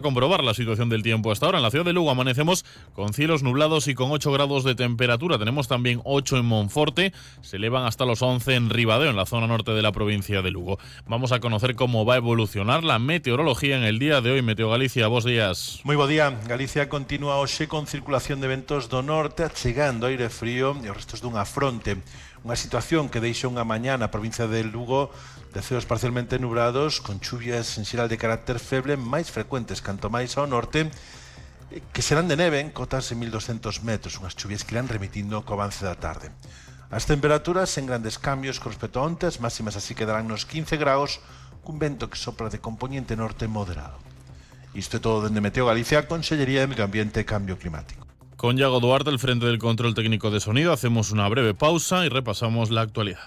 Comprobar la situación del tiempo hasta ahora. En la ciudad de Lugo amanecemos con cielos nublados y con 8 grados de temperatura. Tenemos también 8 en Monforte, se elevan hasta los 11 en Ribadeo, en la zona norte de la provincia de Lugo. Vamos a conocer cómo va a evolucionar la meteorología en el día de hoy. Meteo Galicia, bos días. Moi bo día. Galicia continúa hoxe con circulación de ventos do norte, chegando aire frío e os restos dunha fronte. Unha situación que deixa unha mañá na provincia de Lugo de ceos parcialmente nubrados, con chuvias en xeral de carácter feble máis frecuentes canto máis ao norte, que serán de neve en cotas de 1200 metros, unhas chuvias que irán remitindo co avance da tarde. As temperaturas sen grandes cambios con respecto a onte, as máximas así quedarán nos 15 graus, cun vento que sopra de componente norte moderado. Isto é todo dende Meteo Galicia, Consellería de Medio Ambiente e Cambio Climático. Con Iago Duarte, al frente del control técnico de sonido, hacemos una breve pausa y repasamos la actualidad.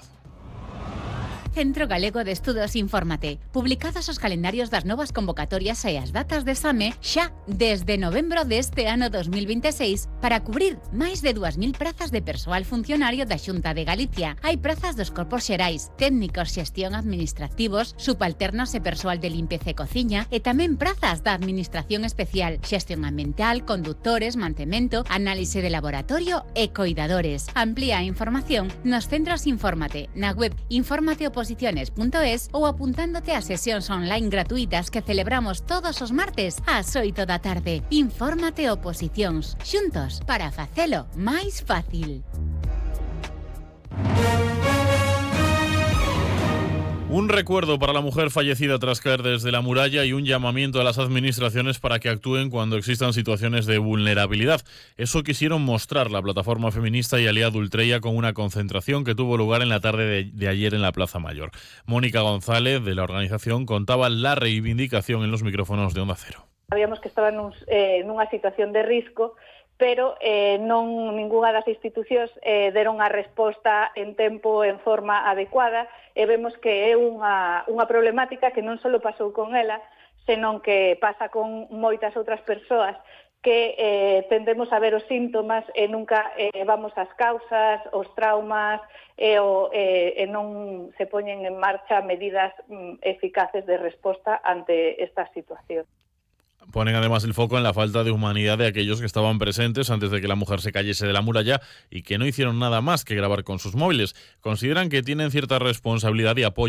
Centro Galego de Estudos Infórmate. Publicados os calendarios das novas convocatorias e as datas de exame xa desde novembro deste ano 2026 para cubrir máis de 2.000 prazas de persoal funcionario da Xunta de Galicia. Hai prazas dos corpos xerais, técnicos, xestión administrativos, subalternos e persoal de limpeza e cociña e tamén prazas da Administración Especial, xestión ambiental, conductores, mantemento, análise de laboratorio e coidadores. Amplía a información nos centros Infórmate, na web informateoposiciones.es ou apuntándote a sesións online gratuitas que celebramos todos os martes ás 8 da tarde. Infórmate Oposicións, xuntos para facelo máis fácil. Un recuerdo para la mujer fallecida tras caer desde la muralla y un llamamiento a las administraciones para que actúen cuando existan situaciones de vulnerabilidad. Eso quisieron mostrar la plataforma feminista y Aliado Ultreya con una concentración que tuvo lugar en la tarde de ayer en la Plaza Mayor. Mónica González, de la organización, contaba la reivindicación en los micrófonos de Onda Cero. Sabíamos que estaban nunha situación de risco, pero non ningunha das institucións deron a resposta en tempo, en forma adecuada, e vemos que é unha problemática que non só pasou con ela, senón que pasa con moitas outras persoas que tendemos a ver os síntomas e nunca vamos ás causas, os traumas e non se poñen en marcha medidas eficaces de resposta ante esta situación. Ponen además el foco en la falta de humanidad de aquellos que estaban presentes antes de que la mujer se cayese de la muralla y que no hicieron nada más que grabar con sus móviles. Consideran que tienen cierta responsabilidad y apoyo